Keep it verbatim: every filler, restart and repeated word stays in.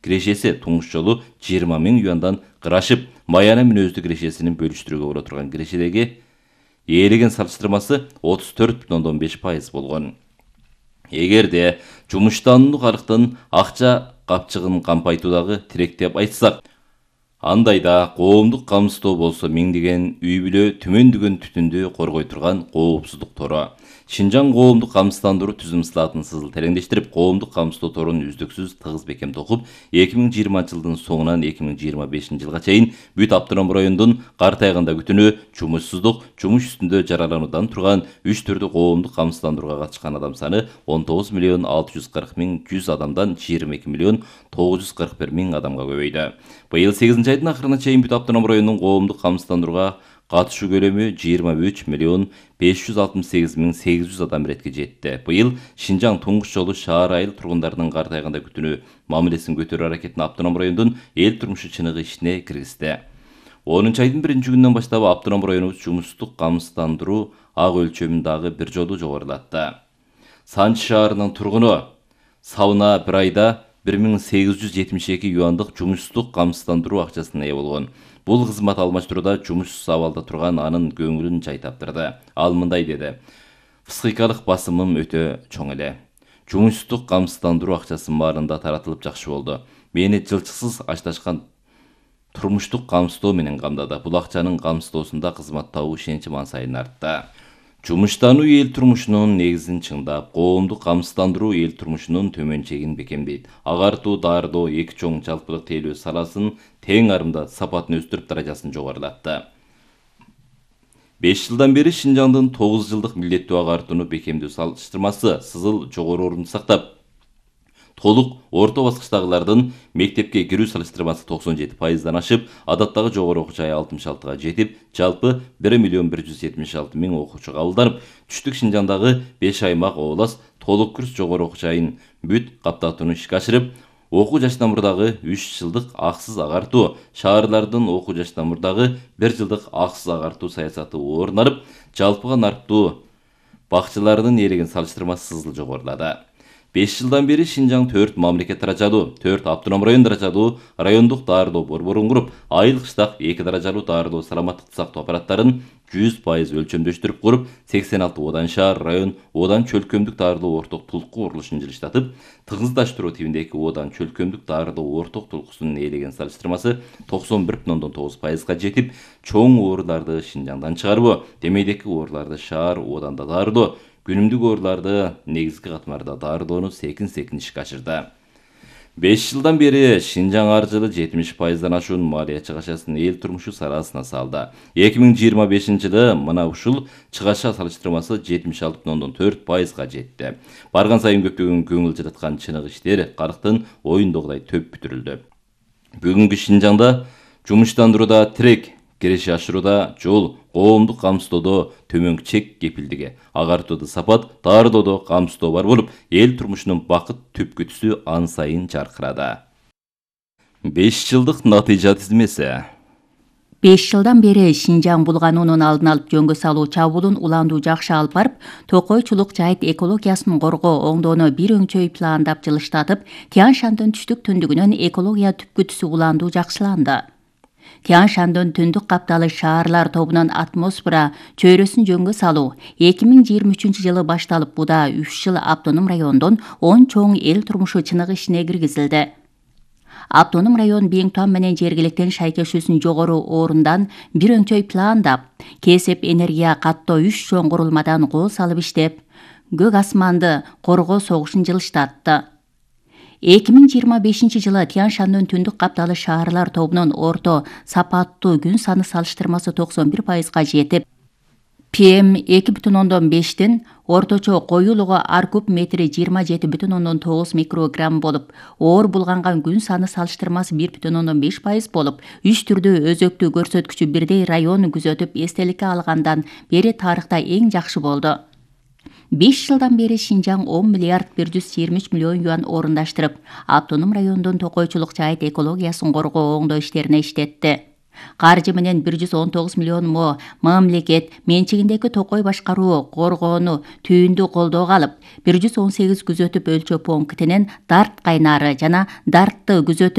кирешеси туңуш жолу жыйырма миң юандан кырашып, Майана мүнөздүү кирешесинин бөлүштүрүүгө боло турган кирешедеги ээлеген салыштырмасы отуз төрт бүтүн ондон беш пайыз болгон. Эгерде жумуштануу калктын акча капчыгын кампайтуудагы тирек деп айтсак, андайда коомдук камсыздоо болсо миңдеген үй бүлө түмөндөгөн түтүндү коргой турган коопсуздук тору. Шинжаң коомдук камсыздандыруу түзүм сылаатын сызыл тереңдештирип, коомдук камсыздоо торун үздүксүз тыгыз бекем токуп, эки миң жыйырманчы жылдын соңунан эки миң жыйырма бешинчи жылга чейин бүт автоном райондун картайганда күтүнү, жумушсуздук, жумуш үстүндө жаралануудан турган үч түрдүү коомдук камсыздандырууга катышкан адам саны он тогуз миллион алты жүз кырк миң жүз адамдан жыйырма эки миллион тогуз жүз кырк бир миң адамга көбөйдү. Быйыл сегизинчи айдын акырына чейин бүт автоном райондун коомдук камсыздандырууга катышуу көлөмү жыйырма үч миллион беш жүз алтымыш сегиз миң сегиз жүз адам иретке жетти. Быйыл Шинжаң туңгуш жолу шаар айыл тургундарынын картайганда күтүнүү мамилесин көтөрүү аракетин автоном райондун эл турмушу чыныгы ишине киргизди. онунчу айдын биринчи күнүнөн баштап автоном районубуз жумуштук камсыздандыруу ак өлчөмүн дагы бир жолу жогорулатты. Санчы шаарынын тургуну Сауна бир айда бир миң сегиз жүз жетимиш эки юандык жумуштук камсыздандыруу акчасына ээ болгон. Бул кызмат алмаштырууда жумушсуз абалда турган анын көңүлүн жай таптырды. Ал мындай деди: "Психикалык басымым өтө чоң эле. Жумуштук камсыздандыруу акчасы маалында таратылып жакшы болду. Мени жылчыксыз ашташкан турмуштук камсыздоо менен камдады. Бул акчанын камсыздоосунда кызмат табуу ишеничим ан сайын артты. Жумуштануу эл турмушунун негизин чыңдап, коомдук камсыздандыруу эл турмушунун төмөн чегин бекемдейт. Агартуу, даардоо эки чоң жалпылык тейлөө саласын тең арымда сапатын өстүрүп, даражасын жогорулатты. беш жылдан бери Шинжаңдын тогуз жылдык милдеттүү агартууну бекемдөө салыштырмасы сызыл жогору орунду сактап, толук орто баскычтагылардын мектепке кирүү салыштырмасы токсон жети пайыздан ашып, адаттагы жогору окуу жай алтымыш алтыга жетип, жалпы бир миллион бир жүз жетимиш алты миң окуучу кабылданып, түштүк Шинжаңдагы беш аймак облас толук курс жогору окуу жайын бүт каптатууну ишке ашырып, окуу жашынан мурдагы үч жылдык аксыз агартуу, шаарлардын окуу жашынан мурдагы бир жылдык аксыз агартуу саясаты орун алып, жалпыга нарптуу бакчылардын ээлеген салыштырмасы сызыл жогорулады. беш жылдан бери Шинжаң төрт мамлекет даражалуу, төрт автоном район даражалуу райондук даарылоо борборун куруп, айыл кыштак эки даражалуу даарылоо саламаттыкты сактоо аппараттарын жүз пайыз өлчөмдөштүрүп куруп, сексен алты одан шаар район, одан чөлкөмдүк даарылоо орток тулку курулушун жылыштатып, тыгыздаштыруу тибиндеги одан чөлкөмдүк даарылоо орток тулкусунун ээлеген салыштырмасы токсон бир бүтүн ондон тогуз пайызга жетип, чоң ооруларды Шинжаңдан чыгаруу, демейдеки ооруларды шаар оданда даарылоо, күнүмдүк ооруларды негизги катмарда даарылоону секин-секин ишке ашырды. беш жылдан бери Шинжаң ар жылы жетимиш пайыздан ашуун малия чыгашасын эл турмушу саласына салды. эки миң жыйырма бешинчи жылы мына ушул чыгаша салыштырмасы жетимиш алты бүтүн ондон төрт пайызга жетти. Барган сайын көптөгөн көңүл жылыткан чыныгы иштер калктын оюндогудай төп бүтүрүлдү. Бүгүнкү Шинжаңда жумуштандырууда тирек, киреше ашырууда жол, коомдук камсыздоодо төмөнкү чек кепилдиги, агартууда сапат, даарылоодо камсыздоо бар болуп, эл турмушунун бакыт түпкүтүсү ан сайын жаркырады. беш жылдык натыйжа тизмеси. беш жылдан бери Шинжаң булгануунун алдын алып жөнгө салуу чабуулун уландуу жакшы алып барып, токойчулук жайыт экологиясын коргоо оңдоону бир өңчөй пландап жылыштатып, Тянь-Шаньдын түштүк түндүгүнөн экология түпкүтүсү уландуу жакшыланды. Тянь-Шаньдын түндүк капталы шаарлар тобунун атмосфера чөйрөсүн жөнгө салуу эки миң жыйырма үчүнчү жылы башталып, буда үч жыл автоном райондон он чоң эл турмушу чыныгы ишине киргизилди. Автоном район Биңтуан менен жергиликтин шайкешүүсүн жогору орундан бир өңчөй пландап, кесип энергия каттоо үч чоң курулмадан кол салып иштеп, көк асманды коргоо согушун жылыштатты. эки миң жыйырма бешинчи жылы Тянь-Шаньдын түндүк капталы шаарлар тобунун орто сапаттуу күн саны салыштырмасы токсон бир пайызга жетип, пи эм эки бүтүн ондон бештин орточо коюлугу ар куб метри жыйырма жети бүтүн ондон тогуз микрограмм болуп, оор булганган күн саны салыштырмасы бир бүтүн ондон беш пайыз болуп, үч түрдүү өзөктүү көрсөткүчү бирдей район күзөтүп эстеликке алгандан бери тарыхта эң жакшы болду. беш жылдан бери Шинжаң он миллиард бир жүз жыйырма үч миллион юан орундаштырып, автоном райондун токойчулук жайыт экологиясын коргоо оңдоо иштерине иштетти. Каржы менен бир жүз он тогуз миллион мо мамлекет менчигиндеги Токой башкаруу коргоону түйүндү колдоого алып, бир жүз он сегиз күзөтүп өлчөө пунктинин Дарт кайнары жана Дартты күзөтүп